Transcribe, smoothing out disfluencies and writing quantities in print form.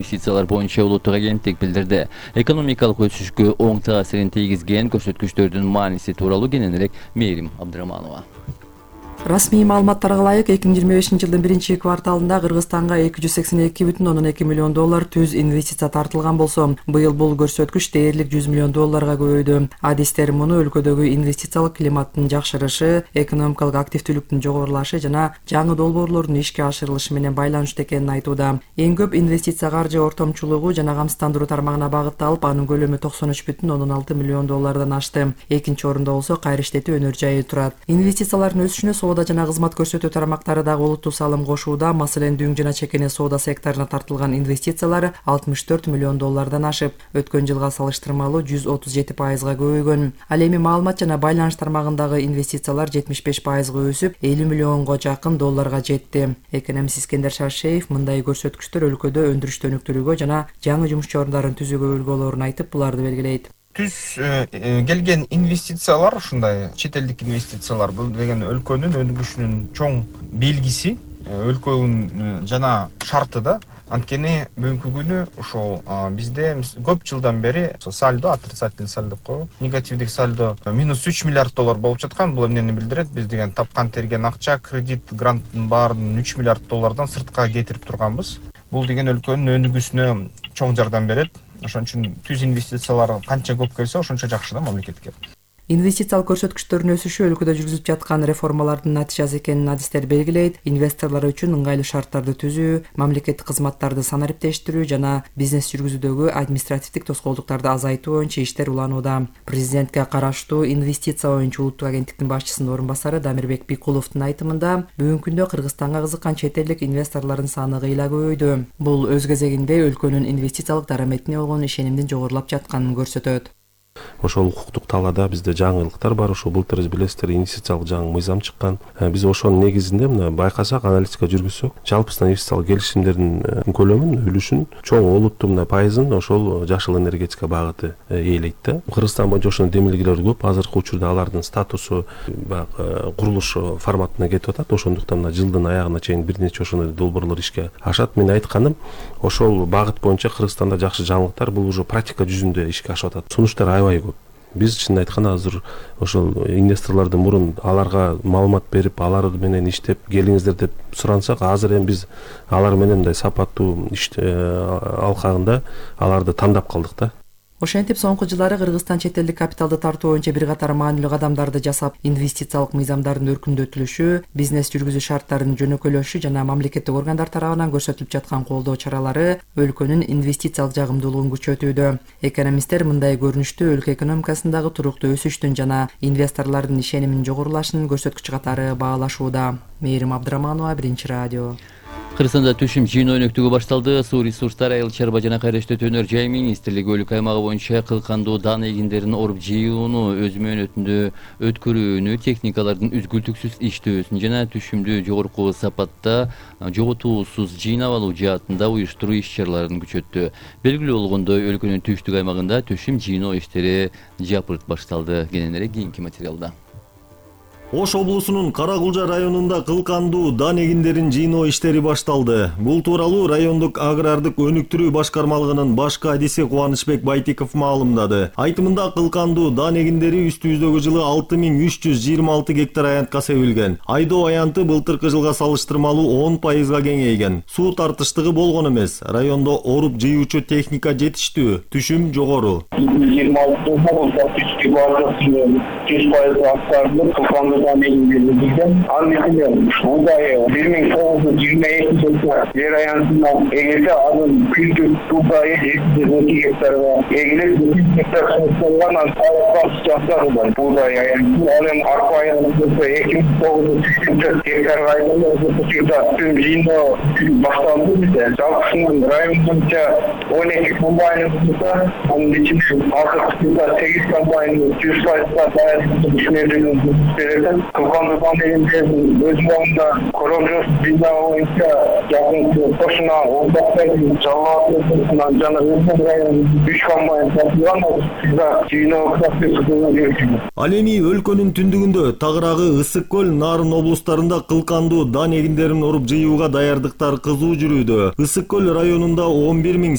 инвестициялар боюнча улуттук агенттик билдирди. Экономикалык өсүшкө оң таасирин тийгизген көрсөткүчтөрдүн мааниси тууралуу кененирээк Мээрим Абдыраманова. Расмий маалыматтарга ылайык 2025-жылдын биринчи кварталында Кыргызстанга $282,2 миллион түз инвестиция тартылган болсо, быйыл бул көрсөткүч дээрлик $100 миллион көбөйдү. Адистер муну өлкөдөгү инвестициялык климаттын жакшырышы, экономикалык активдүүлүктүн жогорулашы жана жаңы долбоорлордун ишке ашырылышы менен байланыштуу экенин айтууда. Эң көп инвестиция каржы ортомчулугу жана камсыздандыруу тармагына багытталып, анын көлөмү $93,6 миллион ашты. Экинчи орунда болсо кайра иштетүү өнөр жайы турат. Инвестициялардын өсүшүнө соода жана кызмат көрсөтүү тармактары дагы олуттуу салым кошууда. Маселен, дүң жана чекене соода секторуна тартылган инвестициялар $64 миллион ашып, өткөн жылга салыштырмалуу 137%га көбөйгөн. Ал эми маалымат жана байланыш тармагындагы инвестициялар 75%га өсүп, $50 миллионго жакын долларга жетти. Экономист Искендер Шаршеев мындай көрсөткүчтөр өлкөдө өндүрүштү өнүктүрүүгө жана жаңы жумуш ордорун түзүүгө өлгөлөрүн айтып, буларды белгилейт. Түз келген инвестициялар, ушундай чет элдик инвестициялар, бул деген өлкөнүн өнүгүшүнүн чоң белгиси, өлкөнүн жана шарты да. Анткени бүгүнкү күнү ошол бизде көп жылдан бери сальдо, отрицательный сальдо деп коебу, негативдик сальдо -$3 миллиард болуп жаткан. Бул эмнени билдирет? Биз деген тапкан терген акча, кредит, гранттын баарын $3 миллиард сыртка кетирип турганбыз. Бул деген өлкөнүн өнүгүүсүнө чоң жардам берет. Ошон үчүн түз инвестициялар канча көп келсе, ошончо жакшы да мамлекетке. Инвестициялык көрсөткүчтөрдүн өсүшү өлкөдө жүргүзүлүп жаткан реформалардын натыйжасы экенин адистер белгилейт. Инвесторлор үчүн ыңгайлуу шарттарды түзүү, мамлекеттик кызматтарды санариптештирүү жана бизнес жүргүзүүдөгү административдик тоскоолдуктарды азайтуу боюнча иштер уланууда. Президентке караштуу инвестиция боюнча улуттук агенттиктин башчысынын орун басары Дамирбек Бикуловдун айтымында, бүгүнкү күндө Кыргызстанга кызыккан чет элдик инвесторлордун саны кыйла көбөйдү. Бул өз кезегинде өлкөнүн инвестициялык дараметине болгон ишенимдин жогорулап жатканын көрсөтөт. Ошол укуктук талаада бизде жаңылыктар бар. Ошо былтыр билесиздер, инвестициялык жаңы мыйзам чыккан. Биз ошонун негизинде мына байкасак, аналитика жүргүзсөк, жалпысынан инвестициялык келишимдердин көлөмүн, үлүшүн чоң олуттуу мына пайызын ошол жашыл энергетика багыты ээлейт да. Кыргызстан боюнча ошонун демилгелери көп. Азыркы учурда алардын статусу баягы курулуш форматына кетип атат. Ошондуктан мына жылдын аягына чейин бир нече ошондой долбоорлор ишке ашат. Мен айтканым, ошол багыт боюнча Кыргызстанда жакшы жаңылыктар, бул уже практика жүзүндө ишке ашып атат. Сунуштар аябай көп. Биз чын айтканда азыр ошол инвесторлорду мурун аларга маалымат берип, алар менен иштеп келиңиздер деп сурансак, азыр эми биз алар менен мындай сапаттуу иш алкагында аларды тандап калдык да. Ошентип, соңку жылдары Кыргызстан чет элдик капиталды тартуу боюнча бир катар маанилүү кадамдарды жасап, инвестициялык мыйзамдардын өркүндөтүлүшү, бизнес жүргүзүү шарттарынын жөнөкөйлөшүшү жана мамлекеттик органдар тарабынан көрсөтүлүп жаткан колдоо чаралары өлкөнүн инвестициялык жагымдуулугун күчөтүүдө. Экономисттер мындай көрүнүштү өлкө экономикасындагы туруктуу өсүштүн жана инвесторлордун ишениминин жогорулашынын көрсөткүчү катары баалашууда. Мээрим Абдыраманова, Биринчи радио. Кыргызстанда түшүм жыйын өнөктүгү башталды. Суу ресурстары, айыл чарба жана кайра иштетүү өнөр жай министрлиги өлкө аймагы боюнча кылкандуу дан эгиндерин оруп жыюуну, өз мөөнөтүндө өткөрүүнү, техникалардын үзгүлтүксүз иштөөсүн жана түшүмдү жогорку сапатта жоготуусуз жыйнап алуу жаатында уюштуруу иш-чараларын күчөттү. Белгилүү болгондой, өлкөнүн түштүк аймагында түшүм жыйноо иштери жапырт башталды. Кененирээк кийинки материалда. Ош облусунун Каракулжа районунда кылкандуу дан эгиндерин жыйноо иштери башталды. Бул тууралуу райондук агрардык өнүктүрүү башкармалыгынын башкы адиси Кубанычбек Байтиков маалымдады. Айтымында кылкандуу дан эгиндери үстүбүздөгү жылы 6326 гектар аянтка себилген. Айдоо аянты былтыркы жылга салыштырмалуу 10%га кеңейген. Суу тартыштыгы болгон эмес. Райондо оруп жыюучу техника жетиштүү, түшүм жогору. 26 жер аянтына эгерде анын күндүк суудайы 2 гектарга эгилип 2 гектар сууган жактары бар. Буудай аянты, анын арпа аянты 2900 гектарга түшүм жыйноо башталды бизде. Жалпысынан район боюнча 12 комбайн болсо, анын ичинде 8 комбайн 100%-га даяр кылкандуу дан эгиндердин өз моюнда коронавирус жыйноо боюнча жакын кошуна Ордоктойдун Жалал жана Өзөн районунун 3 комбайн тартылган жыйноо процесси. Ал эми өлкөнүн түндүгүндө Тагырагы, Ысык көл, Нарын облустарында кылкандуу дан эгиндерин оруп жыюуга даярдыктар кызуу жүрүүдө. Ысык көл районунда